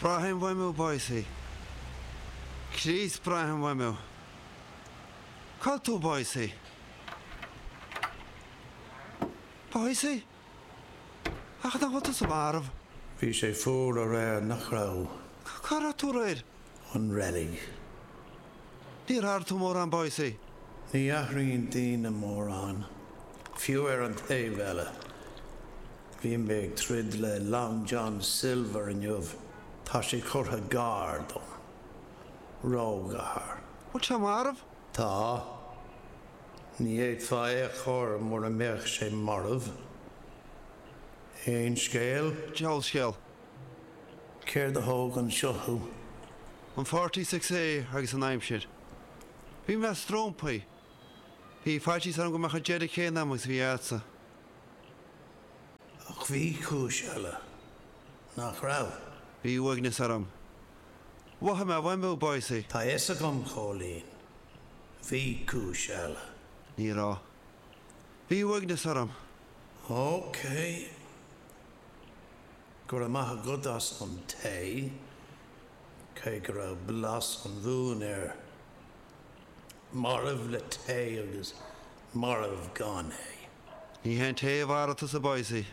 Braithim uaim thú, Boycie. Críost, braithim uaim thú. Cá bhfuil tú, Boycie? Boycie? Ach nach bhfuil tusa marbh? Bhí sé fuar aréir, nach raibh? Cá raibh tú aréir? An reilig. Níor athraigh tú mórán, Boycie. Ní athraíonn daoine mórán, fiú ar an taobh eile. Bhí mé ag troid le Long John Silver inniu. Tá sé curtha gar dom. Ró-ghar. Bhfuil sé marbh? Tá. Ní fhéadfá é a chur mura mbeadh sé marbh. Aon scéal? Diabhal scéal. Céard a thóg anseo thú? An 46A agus an aimsir. Bhí mé strompaithe. Bhí faitíos orm go mbeadh an deireadh céanna agam agus a bhí agatsa. Ach bhí cúis eile, nach raibh? Bhí uaigneas orm. Mhothaigh mé uaim thú, Boycie. Tá fhios agam, Chóilín. Bhí cúis eile. Ní raibh. Bhí uaigneas orm. Ok. Go raibh maith agat as an tae, cé go raibh blas an mhúin air. Marbh le tae agus marbh gan é. Ní hé an tae a mharaigh tusa, Boycie.